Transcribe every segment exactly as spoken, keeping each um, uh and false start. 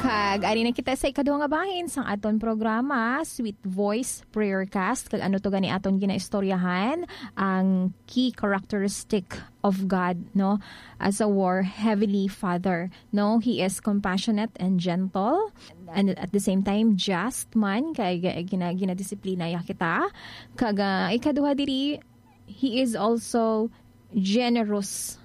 Kag ari na kita sa ikaduha nga bahin sang aton programa, Sweet Voice Prayer Cast. Kag ano to gani aton ginaistoryahan? Ang key characteristic of God, no? As our Heavenly Father, no? He is compassionate and gentle, and at the same time, just man, kay gi-, gina-, ginadisiplina ya kita. Kag, ah, ikaduha diri, He is also generous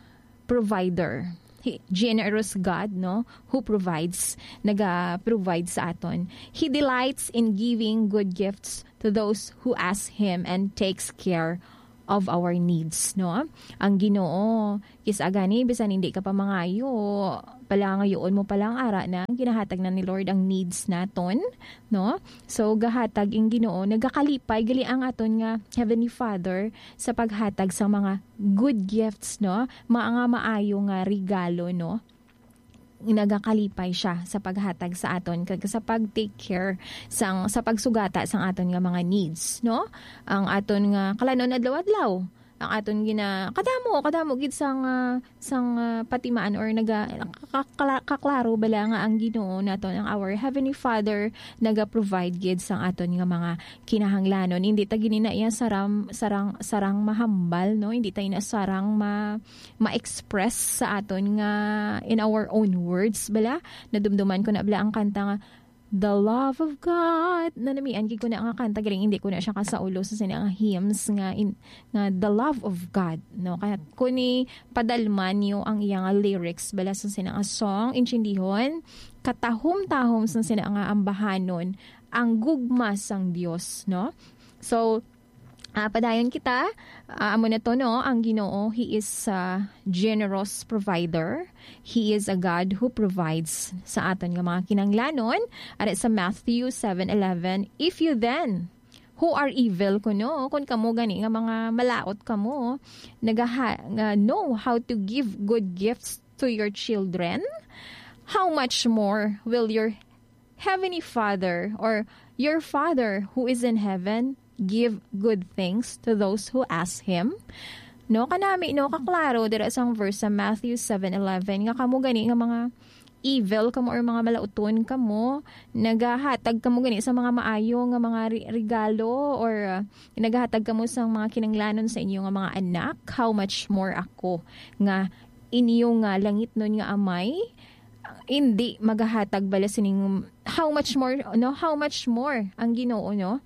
provider. He, generous God, no, who provides, naga-provide sa aton. He delights in giving good gifts to those who ask Him and takes care of our needs, no? Ang Ginoo, kis-a gani, bisan hindi ka pa mangayo, palangayoon mo pa lang, ara na, ginahatag na ni Lord ang needs naton, no? So, gahatag ang Ginoo, nagakalipay, gali ang aton nga Heavenly Father sa paghatag sa mga good gifts, no? Mga nga maayo nga regalo, no? Nagakalipay siya sa paghatag sa aton kag sa pag-take care sang, sa pagsugata sang aton nga mga needs, no? Ang aton nga kalanon adlaw-adlaw, ang aton gina-, kadamo, kadamo gid sang, ah, sang, ah, patimaan or naga-, kakla-, kaklaro bala nga ang Ginoo naton, ang our Heavenly Father, naga-provide gid sang aton nga mga kinahanglanon. Hindi ta gid na iya sarang, sarang, sarang mahambal, no? Hindi ta ina sarang ma-, ma-express sa aton nga in our own words bala. Nadumduman ko na bala ang kanta nga The Love of God. Nanamian gid ko na nga kanta, galing hindi ko na siya kasaulo sa sina nga hymns nga in, nga The Love of God, no? Kaya kung ipadalman niyo ang iya nga lyrics bala sa sina nga song, intindihon, katahom-tahom sa sina nga ambahanon ang gugma sang Dios, no? So, ah, padayon kita, ah, amo na to, no? Ang Ginoo, He is a generous provider. He is a God who provides sa aton nga mga kinahanglanon. Ara sa Matthew seven eleven, "If you then, who are evil," kuno, kung kamo gani nga mga malaut kamo, nagaha-, nga know how to give good gifts to your children, how much more will your Heavenly Father, or your Father who is in heaven, give good things to those who ask Him? No, kanami, no, kaklaro dira sang verse sa Matthew seven eleven, nga kamo gani nga mga evil kamo or mga malauton kamo, nagahatag kamo gani sa mga maayo nga mga re-, regalo, or, uh, nagahatag kamo sa mga kinanglanon sa inyo nga mga anak, how much more ako nga inyo nga langitnon nga Amay, hindi magahatag bala sining, how much more, no? How much more ang Ginoo, no?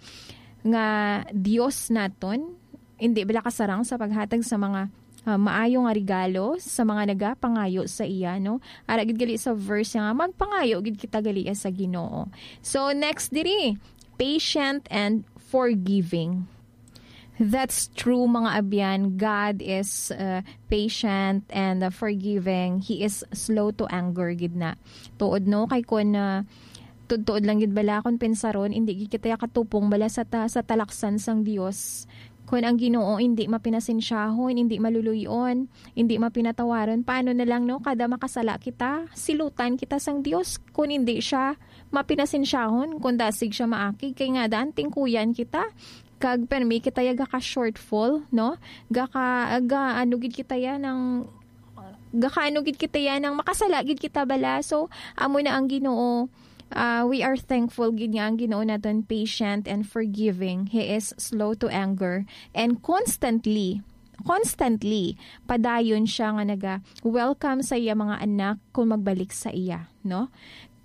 Nga Dios naton, hindi bala kasarang sa paghatag sa mga, ah, maayo nga regalo sa mga nagapangayo sa iya, no? Ara gid gali sa verse nga magpangayo gid kita gali sa Ginoo. So, next diri, patient and forgiving. That's true, mga abyan. God is, uh, patient and, uh, forgiving. He is slow to anger gid na. Tuod, no? Kay kun, uh, tuod-tuod lang gid bala, kun pensaron, hindi gid kita katupong bala sa ta-, sa talaksan sang Dios. Kun ang Ginoo hindi mapinasensyahon, hindi maluluy-on, hindi mapinatawaron, paano na lang, no? Kada makasala kita, silutan kita sang Dios. Kun hindi siya mapinasensyahon, kun dasig siya maakig, kay nga daan tingkuyan kita. Kag permi kita ya gaka-shortfall, no? Gaka-, ga-, ano gid kita ya nang, gaka-, ano gid kita ya nang makasala gid kita bala. So, amo na ang Ginoo. Ah, we are thankful gid nga ang Ginoo naton patient and forgiving. He is slow to anger and constantly, constantly, padayon siya nga naga-welcome sa iya mga anak kung magbalik sa iya, no?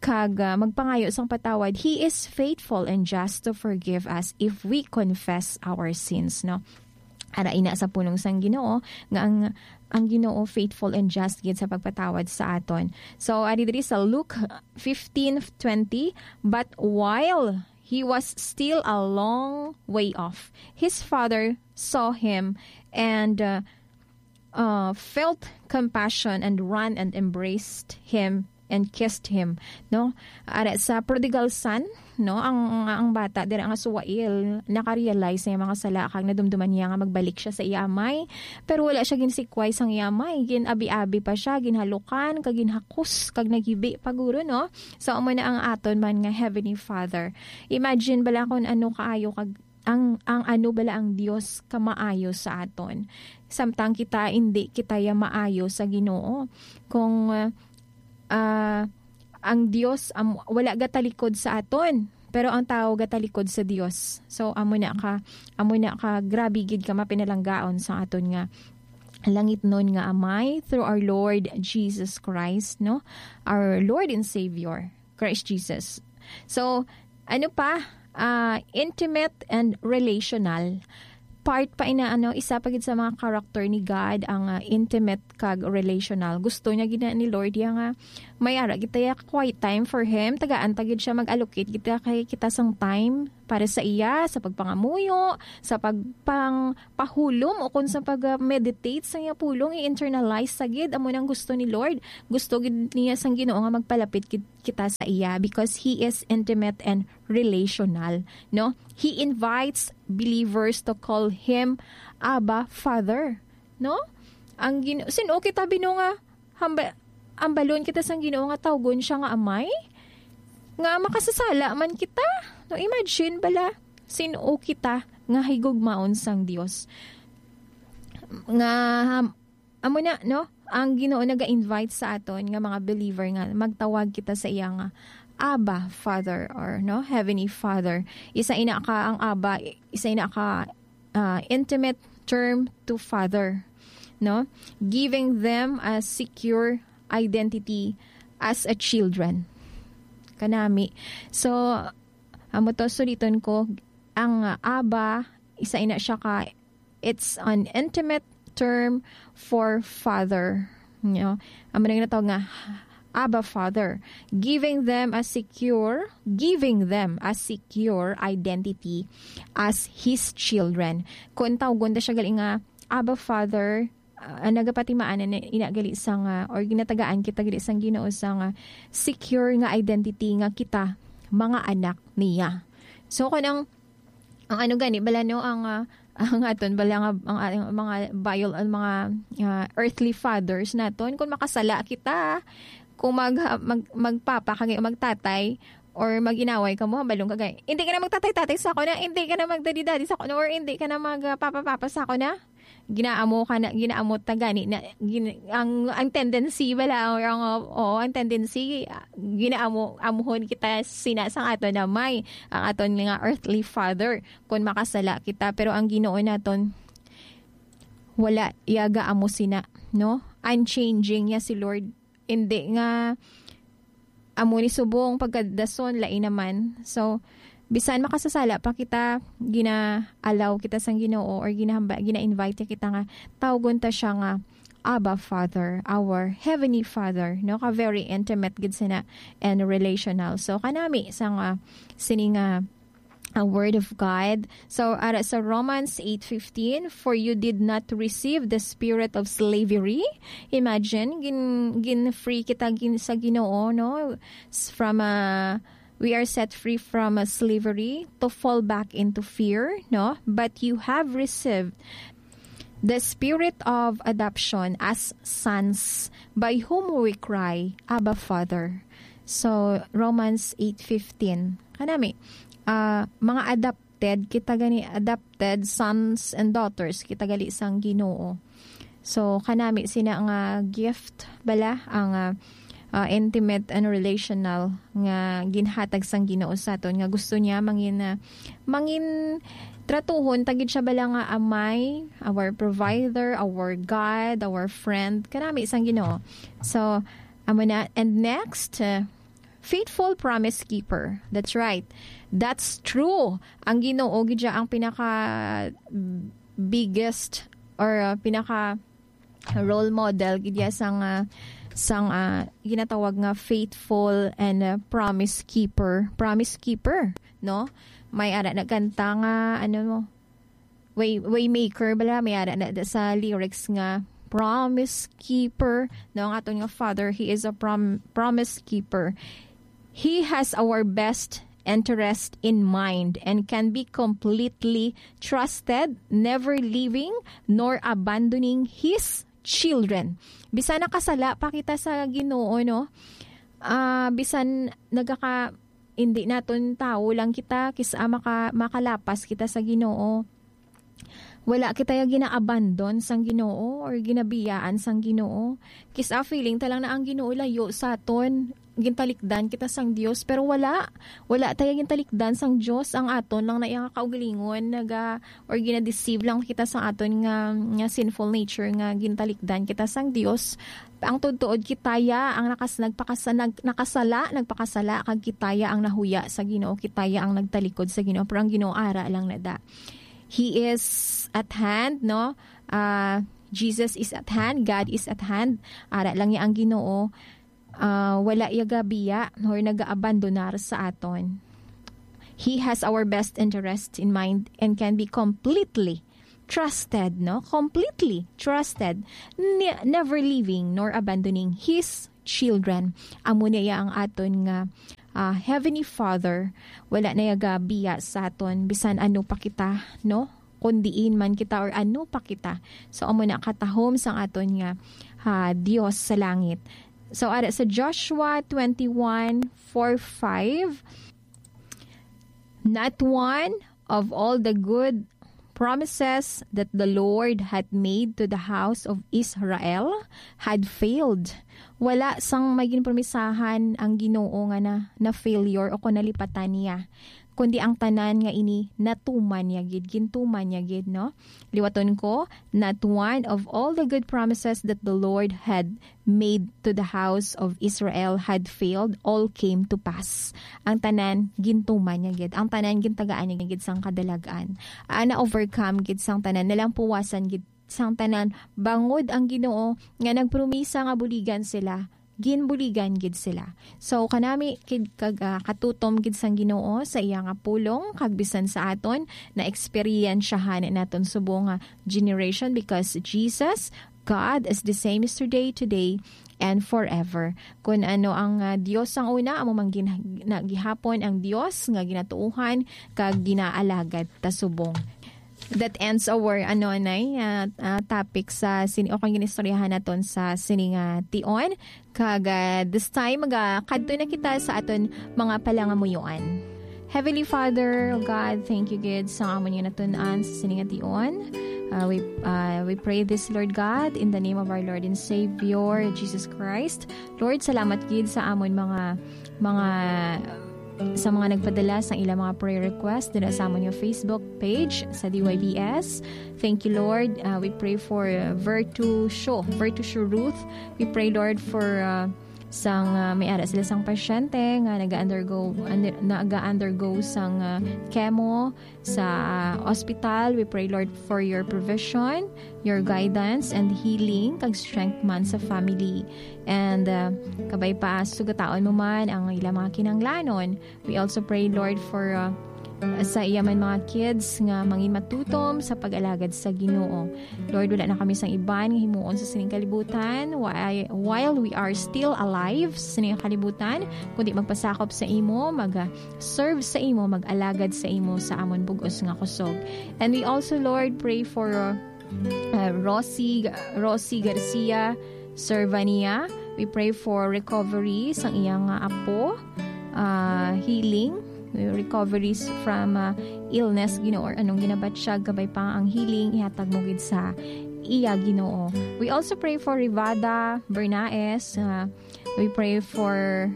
Kag, ah, magpangayo sang patawad. He is faithful and just to forgive us if we confess our sins, no? Ara ina sa pulong sang Ginoo nga ang, ang Ginoo faithful and just gid sa pagpatawad sa aton. So, ari diri sa Luke fifteen twenty, "But while he was still a long way off, his father saw him and, uh, uh, felt compassion and ran and embraced him and kissed him," no? Ara sa prodigal son, no? Ang, ang, ang bata dira nga suwail, nakarealize sa iyang mga sala kag nadumduman niya nga magbalik siya sa iya amay. Pero wala siya ginsikway sang iya amay. Gin-abi-abi pa siya, ginhalukan, kag ginhakos, kag naghibi pa guro, no? So, amo na ang aton man nga Heavenly Father. Imagine bala kung ano kaayo kag ang, ang ano bala ang Dios kamaayo sa aton. Samtang kita, hindi kita ya maayo sa Ginoo. Kung, ah, ah, ang Dios am-, wala gatalikod sa aton, pero ang tawo gatalikod sa Dios. So, amo na ka, amo na ka, grabe gid ka mapinalanggaon sa aton nga langitnon nga Amay through our Lord Jesus Christ, no? Our Lord and Savior, Christ Jesus. So, ano pa? Ah, intimate and relational. Part pa ina, ano, isa pa gid sa mga character ni God ang, ah, intimate kag relational. Gusto niya gina ni Lord ya nga may ara kita ya quiet time for him. Tagaan ta gid siya mag-allocate kita kay kita sang time para sa iya, sa pagpangamuyo, sa pagpangpahulom o kung sa pag-meditate sa iya pulong, i-internalize sa gid amo nang gusto ni Lord. Gusto gid niya sang Ginoo nga magpalapit gid kita sa iya because he is intimate and relational, no? He invites believers to call him Abba, Father, no? Ang Gin-, sin-o kita bino nga hamba-, hambalon kita sang Ginoo nga tawgon siya nga Amay? Nga makasasala man kita? No, imagine bala, sin-o kita nga higugmaon sang Dios? Nga ham-, amo na, no? Ang Ginoo naga-invite sa aton nga mga believer nga magtawag kita sa iya nga Abba, Father, or, no, Heavenly Father. Isa ina ka ang Abba, isa ina ka, ah, intimate term to father, no? Giving them a secure identity as a children. Kanami. So, amo to, suliton ko, ang, ah, Abba, isa ina siya ka, it's an intimate term for father. No? Amo na ginatawag nga Abba Father, giving them a secure, giving them a secure identity as his children. Kung tawgon ta siya gali nga Abba Father, ah, nagapatimaan na ina gali sa nga, or ginatagaan kita gali sang Ginoo sa nga secure nga identity nga kita mga anak niya. So, kung ang, ang ano gani, bala, no, ang, ah, ang aton, bala nga, ang, ang mga bio-, ang mga, ah, earthly fathers naton, kung makasala kita, kung mag-, mag-, magpapa kag magtatay, or mag-inaway ka mo, hambalon ka gani, "Hindi ka na magtatay-tatay sa ako na, hindi ka na magdadi-dadi sa ako na, or hindi ka na magpapa-papa sa ako na." Ginaamo ka na, ginaamo ta gani na, gin-, ang, ang tendency bala, or ang, oo, ang tendency, ah, ginaamo, amuhon kita sina sang aton Amay, ang aton nga earthly father, kung makasala kita. Pero ang Ginoo naton, wala iya gaamo sina, no? Unchanging ya si Lord. Hindi nga amo ni subong pagkadason, lain naman. So, bisan makasasala pa kita, gina-allow kita sang Ginoo or ginahamba-, gina-invite kita nga tawgon ta siya nga Abba Father, our Heavenly Father, no? Ka very intimate gid sina and relational. So, kanami sa nga sini nga a word of God. So, ara sa Romans eight fifteen, "For you did not receive the spirit of slavery." Imagine, gin-, gin-free kita gin-, sa Ginoo, no? S-, from a, we are set free from a slavery to fall back into fear, no? "But you have received the spirit of adoption as sons, by whom we cry, 'Abba, Father.'" So, Romans eight fifteen. Kanami, ah, mga adopted, kita gani adopted sons and daughters, kita gali sang Ginoo. So, kanami sina nga gift bala, ang, ah, ah, intimate and relational nga ginhatag sang Ginoo sa aton, nga gusto niya mangin, ah, mangin tratuhon ta gid siya bala nga Amay, our provider, our God, our friend, kanami sang Ginoo. So, amo na. And next, uh, faithful promise keeper. That's right. That's true. Ang Ginoo gid siya ang pinaka biggest or, uh, pinaka role model gid ya sang, ah, sang, ah, ginatawag nga faithful and, ah, promise keeper. Promise keeper, no? May ara nagkanta nga, ano mo, way, waymaker bala, may ara na da sa lyrics nga promise keeper, no? Ang aton nga Father, he is a prom-, promise keeper. He has our best interest in mind and can be completely trusted, never leaving nor abandoning his children. Bisan nakasala pa kita sa Ginoo, no? Ah, bisan nagaka-, hindi naton tawo lang kita, kis-, ah, maka-, makalapas kita sa Ginoo. Wala kita ya gina-abandon sang Ginoo or ginabiyaan sang Ginoo. Kis-a feeling ta lang na ang Ginoo layo sa aton. gintalikdan kita sang Dios, pero wala, wala tayo gintalikdan sang Dios. Ang aton lang na iya nga kaugalingon, naga, or ginadeceive lang kita sa aton nga, nga sinful nature nga gintalikdan kita sang Dios. Ang tuod-tuod, kita ya ang nakas-, nagpakasa-, nag-, nakasala, nagpakasala, kag kita ya ang nahuya sa Ginoo, kita ya ang nagtalikod sa Ginoo, pero ang Ginoo ara lang na da. He is at hand, no? Ah, Jesus is at hand, God is at hand. Ara lang ya ang Ginoo. Ah, wala ya gabiya or nagaabandonar sa aton. He has our best interest in mind and can be completely trusted, no? Completely trusted. Ne-, never leaving nor abandoning His children. Amo na ya ang aton nga, ah, Heavenly Father. Wala na ya gabiya sa aton, bisan ano pa kita, no? Kung diin man kita or ano pa kita. So, amo na katahom sang aton nga, ah, Dios sa langit. So, ara sa Joshua twenty-one four five, "Not one of all the good promises that the Lord had made to the house of Israel had failed." Wala sang may ginpromisahan ang Ginoo nga na, na failure o kung nalipatan niya, kundi ang tanan nga ini natuman niya gid, gintuman niya gid, no? Liwaton ko, "Not one of all the good promises that the Lord had made to the house of Israel had failed, all came to pass." Ang tanan, gintuman niya gid. Ang tanan, gintagaan niya gid sang kadalag-an. Ah, na-overcome gid sang tanan, nalampuwasan gid sang tanan, bangod ang Ginoo nga nagpromisa nga buligan sila, ginbuligan gid sila. So, kanami kid kag, ah, katutom gid sang Ginoo sa iya nga pulong, kag bisan sa aton na eksperyensyahan naton subong nga generation, because Jesus, God is the same yesterday, today, and forever. Kun ano ang, ah, Dios sang una, amo man gin-, na gihapon ang Dios nga ginatuohan kag ginaalagad ta subong. That ends our, ano, anay, ah, ah, topic sa sini, o kung ginistoryahan naton sa sini nga tion. Kag, ah, this time, magakadto na kita sa aton mga palangamuyoan. Heavenly Father, O God, thank you gid sa amon nga natun-an sa sini nga tion. Ah, we, ah, we pray this, Lord God, in the name of our Lord and Savior, Jesus Christ. Lord, salamat gid sa amon mga, mga, sa mga nagpadala sa ilang mga prayer request dira sa amon nga Facebook page sa D Y B S. Thank you, Lord. Ah, we pray for, uh, Virtue Show, Virtue Show Ruth. We pray, Lord, for, uh, sang, uh, may ara sila sang pasyente nga naga-undergo, under, naga-undergo sang, uh, chemo sa, uh, ospital. We pray, Lord, for your provision, your guidance, and healing, kag strength man sa family. And, uh, kabay pa, sugataon mo man ang ilang mga kinahanglanon. We also pray, Lord, for, uh, sa iya man mga kids nga mangin matutom sa pag-alagad sa Ginoo. Lord, wala na kami sang iban nga himuon sa sining kalibutan, whi-, while we are still alive sa sining kalibutan, kundi magpasakop sa imo, mag, uh, serve sa imo, mag-alagad sa imo sa amon bug-os nga kusog. And we also, Lord, pray for, uh, uh, Rosie, Rosie Garcia, serva niya. We pray for recovery sang iyang, uh, apo, uh, healing, recoveries from, uh, illness, Ginoo, or anong ginabatyag, kabay pa ang healing, ihatag mo gid sa iya, Ginoo. We also pray for Rivada Bernaes. Uh, we pray for,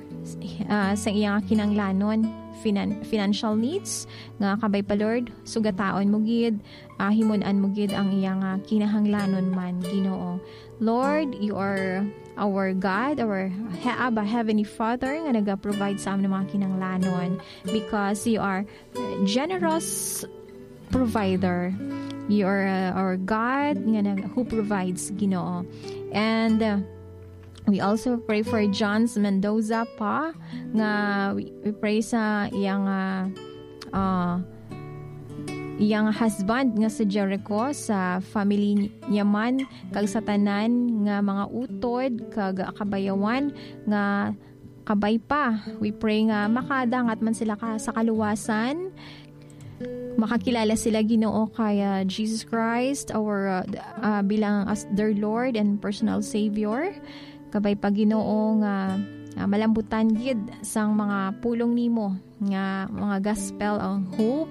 uh, sa iyang kinanglanon, finan-, financial needs, nga kabay pa, Lord, sugataon mo gid, ah, himun-an mo gid ang iyang, ah, kinahanglanon man, Ginoo. Lord, you are our God, our he-, Abba, Heavenly Father, nga naga-provide sa amon mga kinahanglanon, because you are generous provider. You are, uh, our God nga nag-, who provides, Ginoo. And, uh, we also pray for Johns Mendoza pa, nga we, we pray sa iyang, uh, uh, iyang husband nga sa Jericho, sa family niya man, kag sa tanan nga mga utod kag kabayawan nga kabay pa. We pray nga makadangat man sila ka, sa kaluwasan, makakilala sila, Ginoo, kay, ah, Jesus Christ, our, ah, ah, bilang as their Lord and personal Savior. Kabay pa, Ginoo, nga, ah, malambutan gid sang mga pulong nimo nga mga gospel, ang hope,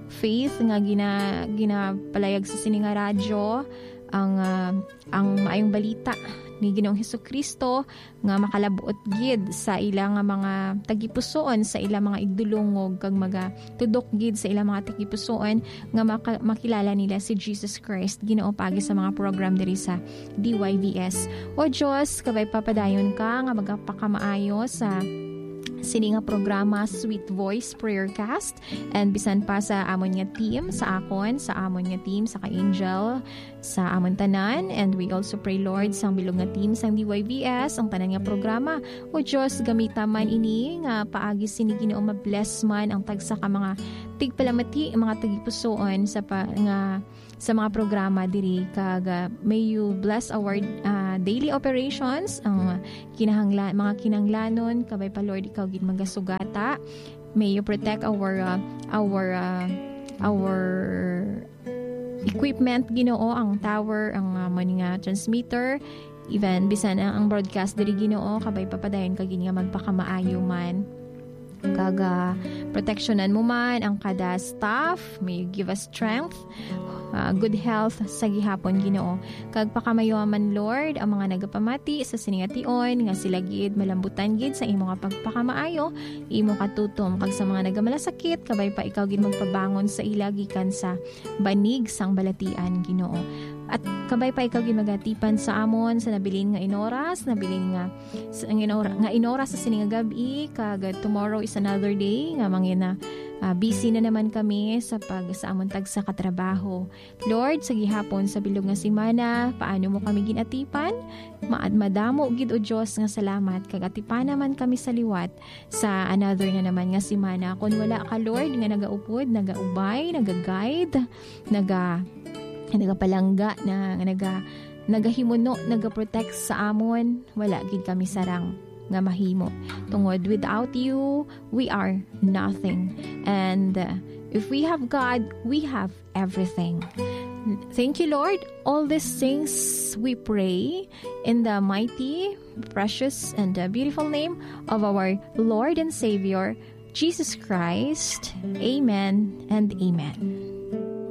faith nga gina-, ginapalayag sa sini nga radyo, ang, ah, ang maayong balita ni Ginoong Hesukristo nga makalabot gid sa ila nga mga tagipusoon, sa ila mga igdulungog, kag magatudok gid sa ila mga tagipusoon nga maka-, makilala nila si Jesus Christ, Ginoo, paagi sa mga program diri sa D Y V S. O Dios, kabay papadayon ka nga magapakamaayo sa sini nga programa, Sweet Voice Prayer Cast, and bisan pa sa amon nga team, sa akon, sa amon nga team, sa ka Angel, sa amon tanan. And we also pray, Lord, sang bilog nga team sang D Y V S, ang tanan nga programa. O Dios, gamita man ini nga paagi sini, Ginoo, ma-bless man ang tagsa ka mga tigpalamati, mga tagipusoon sa pa, nga sa mga programa diri, kag, ah, may you bless our, ah, daily operations, ang kinahangla-, mga kinahanglanon, kabay pa, Lord, ikaw gid magasugata. May you protect our, ah, our, ah, our equipment, Ginoo, ang tower, ang, ah, man nga transmitter, even bisan ang, ang broadcast diri, Ginoo, kabay papadayon ka gid nga magpakamaayo man. Kag, ah, proteksyonan mo man ang kada staff. May you give us strength, ah, good health sa gihapon, Ginoo. Kag pakamayo man, Lord, ang mga nagapamati sa sini nga tion, nga sila gid malambutan gid sa imo nga pagpakamaayo, imo katutom, kag sa mga nagamalasakit, kabay pa ikaw gid magpabangon sa ila gikan sa banig sang balatian, Ginoo. At kabay pa ikaw gid magatipan sa amon sa nabilin nga inoras, nabilin nga sa, ang inora-, nga inora sa sini nga gab-i, kag tomorrow is another day nga mangina, ah, busy na naman kami sa pag, sa amon tagsa ka trabaho. Lord, sa gihapon sa bilog nga semana, paano mo kami ginatipan? Ma-, madamo gid, O Dios, nga salamat, kag atipan naman kami sa liwat sa another na naman nga semana. Kon wala ka, Lord, nga nagaupod, nagaubay, nagaguide, naga-, nagapalangga, na, naga-, nagahimuno, nagaprotect sa amon, wala gid kami sarang nga mahimo. Tungod, without you, we are nothing. And, uh, if we have God, we have everything. Thank you, Lord. All these things we pray in the mighty, precious, and, uh, beautiful name of our Lord and Savior, Jesus Christ. Amen and amen.